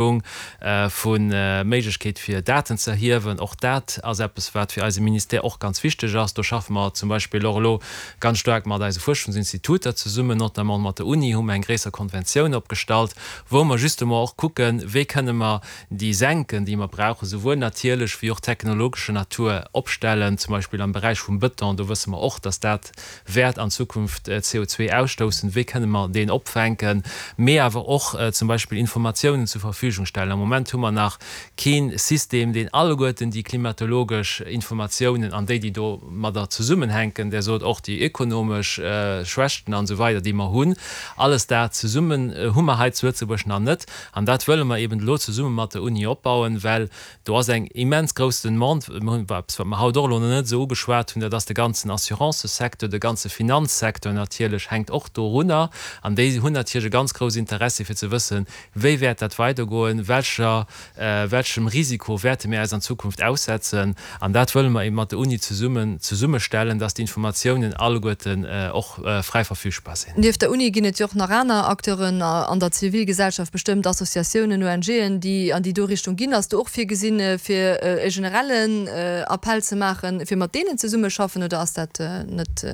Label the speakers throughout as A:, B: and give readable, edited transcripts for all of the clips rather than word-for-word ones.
A: Vu Méiglechkeet fir Daten ze erhiewen. Och dat ass eppes, wat fir eise Ministère och ganz wichteg ass. Do schaffe mer zum Beispill och elo ganz staark mat eise Fuerschungsinstituter zesummen, notamment mat der Uni hu mer eng gréisser Konventioun opgestallt, wou mer justement och kucken, wéi kënne mer déi Senken, déi mer brauchen, souwuel natierlech wéi och technologescher Natur, opstellen, zum Beispill am Beräich vum Bëton. Do wësse mer och, dass dat wäert an Zukunft CO2 ausstoussen, wéi kënne mer deen opfänken, mee awer och zum Beispill Informatiounen zur Verfügung stellen. Am Moment hu mer nach kee System, deen alleguerten déi klimatologesch Informatiounen an déi, déi domadder zesummenhänken, Der sot och déi ökonomesch Schwächten an esou weider, déi mer hunn, alles dat zesummen hu mer hei zu Lëtzebuerg nach net. An dat wëlle mer eben elo zesumme mat der Uni opbauen, well Do ass eng immens grouss Demande. Mir hunn eppes, wat mer haut och elo nach net esou ugeschwat hunn, dat ass de ganzen Assurancesecteur, de ganze Finanzsecteur natierlech hänkt och dorunner. An déi hunn natierlech e ganz grouss Interessi fir ze wëssen, wéi wäert dat weidergoen, welcher, welchem Risiko wäerte mir eis an Zukunft aussetzen. An dat wëlle mer eben mat der Uni zesummen zesummestellen, dass déi Informatiounen alleguerten och fräi verfügbar sinn.
B: Nieft der Uni ginn et jo och nach aner Acteuren an der Zivilgesellschaft, bestëmmt Associatiounen, ONGen, déi an déi do Richtung ginn. Ass do och virgesinn, fir e generellen Appell ze maachen, fir mat deenen zesummeschaffen, oder ass dat net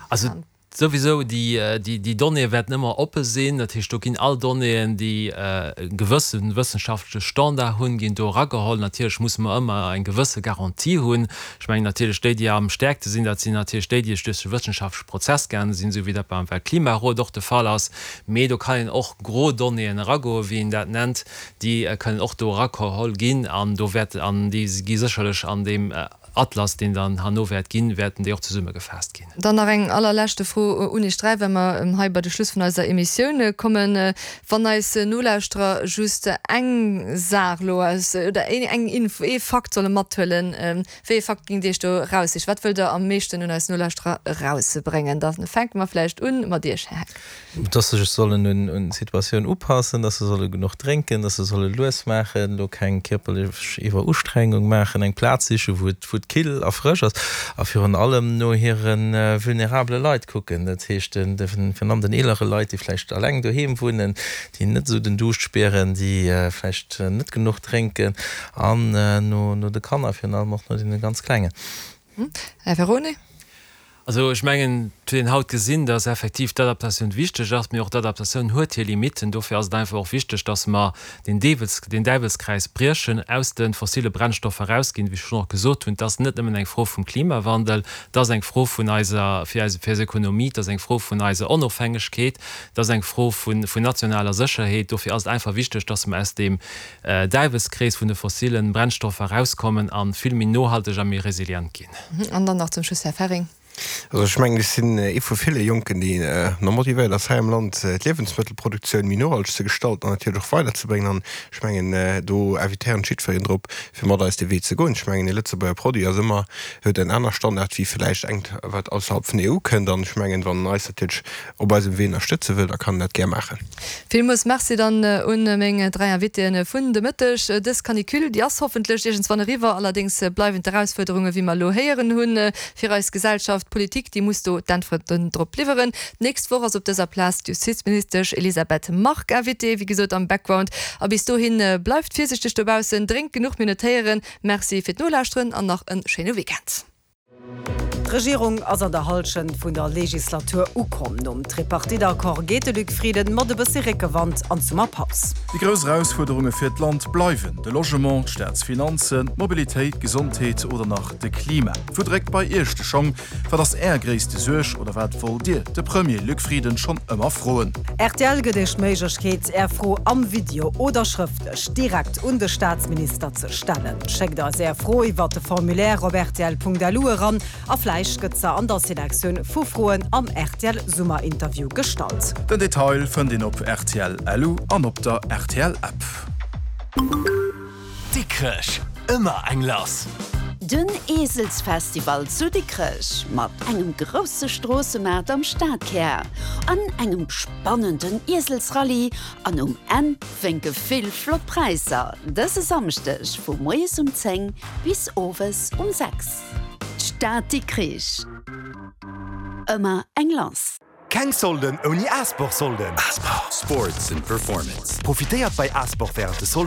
A: Also souwisou, déi Donnéeë wäerten ëmmer oppe sinn. Dat heescht, do ginn all Donnéeën, déi e gewësse wëssenschaftleche Standard hunn, ginn do erageholl. Natierlech musse mer ëmmer eng gewësse Garantie hunn. Ech mengen natierlech, déi, déi am stäerkte sinn, dat sinn natierlech déi, déi duerch de wëssenschaftleche Prozess gaange sinn, esou wéi dat beim Weltklimarot och de Fall ass. Mee do kann een och gro Donnéeën eragoen, wéi een dat nennt, déi kënnen och do erageholl ginn an do wäert, an déi gi sécherlech an deem Atlas, deen dann herno wäert ginn, wäerten déi och zesummegefaasst ginn.
B: Dann nach eng allerleschte Fro un Iech 3, well mer hei bei de Schluss vun eiser Emissioun kommen. Wann eis Nolauschterer just eng Saach elo aus, oder eng Info, ee Fakt solle mathuelen, wéi ee Fakt géingt Dir Iech do eraussichen? Wat wëllt Der am meeschten un eis Nolauschterer erausbréngen? Da fänke mer vläicht un mat Iech, Här Heck.
C: Dass se sech sollen un d'Situatioun upassen, dass se solle genuch drénken, dass se solle lues maachen, elo keng kierperlech Iwwerustrengung maachen, eng Plaz sichen, wou et wou et kill a frësch ass a virun allem no hire vulnerabele Leit kucken, dat heescht virun allem den eelere Leit, déi vläicht alleng doheem wunnen, déi net esou den Duuscht spieren, déi vläicht net genuch drénken an no de Kanner, virun allem och no deene ganz Klengen.
B: Här Ferone.
A: Also ech mengen, et huet een haut gesinn, dass effektiv d'Adaptatioun wichteg ass, mee och d'Adaptatioun huet hir Limitten. Dofir ass et einfach och wichteg, dass mer deen Deewels, deen Däiwelskräis briechen, aus de fossile Brennstoffer erausginn. Wéi ech schonn och gesot hunn, et ass net nëmmen eng Fro vum Klimawandel, et ass eng Fro vun eiser, fir eis, fir eis Ökonomie, et ass eng Fro vun eiser Onofhängegkeet, et ass eng Fro vun, vun nationaler Sécherheet. Dofir ass et einfach wichteg, dass mer aus deem Däiwelskrees vun de fossilen Brennstoffer erauskommen a vill méi nohalteg a méi resilient ginn.
B: An dann nach zum Schluss Här Ferring.
D: Also ech mengen, ech sinn ee vu ville Jonken, déi nach motivéiert ass, hei am Land d'Liewensmëttelproduktioun méi nohalteg ze gestalten an natierlech och weiderzebréngen. An ech mengen, do invitéieren ech jiddwereen drop, fir mat eis dee Wee ze goen. Ech mengen, ee Lëtzebuerger Produit ass ëmmer, huet en aner Standard wéi vläicht engt, wat ausserhalb vun der EU kënnt. An ech mengen, wann en eis natierlech op eisem Wee ënnerstëtze wëll, da kann en dat gär maachen.
B: Villmools Merci dann un meng 3 Invitéen vun de Mëtteg. Dës Canicule, déi ass hoffentlech iergendswann eriwwer. Allerdéngs bleiwen d'Erausfuerderungen, wéi mer elo héieren hunn, fir eis Gesellschaft. D'Politik, déi muss do d'Äntwerten drop liwweren. D'nächst Woch ass op dëser Plaz d'Justizministesch Elisabeth Margue Invitée, wéi gesot am Background. A bis dohi bleift virsichteg dobaussen, drénkt genuch, mir net héieren. Merci fir d'Nolauschteren an nach e schéine Weekend.
E: D'Regierung ass an der Hallschent vun der Legislatur ukomm. Nom Tripartite-Accord geet de Luc Frieden mat e bëssi Réckewand an d'Summerpaus.
F: Déi grouss Erausfuerderunge fir d'Land bleiwen de Logement, d'Staatsfinanzen, d'Mobilitéit, d'Gesondheet oder nach de Klima. Wou dréckt bei Iech de Schong? Wat ass Är gréisste Suerg oder wat wollt Dir de Premier Luc Frieden schonn ëmmer froen?
E: Rtl gëtt Iech d'Méiglechkeet, Är Fro am Video oder schrëftlech direkt un de Staatsminister ze stellen. Schéckt eis Är Fro iwwert de Formulaire op rtl.lu eran a vläicht gëtt se an der Selektioun vu Froen am rtl Summerinterview gestallt.
F: Den Detail fënnt een op rtl.lu an op der rtl App.
G: Dikrech, ëmmer eng lass!
H: Den Eeselsfestival zu Dikrech mat engem grousse Stroossemaart am Stadkär an engem spannenden Ieselsrallye an um Enn wénke vill flott Präisser dëse Samschdeg vu moies um 10 bis owes um 6. D'Stad Dikrich, ëmmer eng lass!
G: Keng Solden ouni Asport Solden! Asport! Sports and Performance. Profitéiert bei Asport wärend de Solden.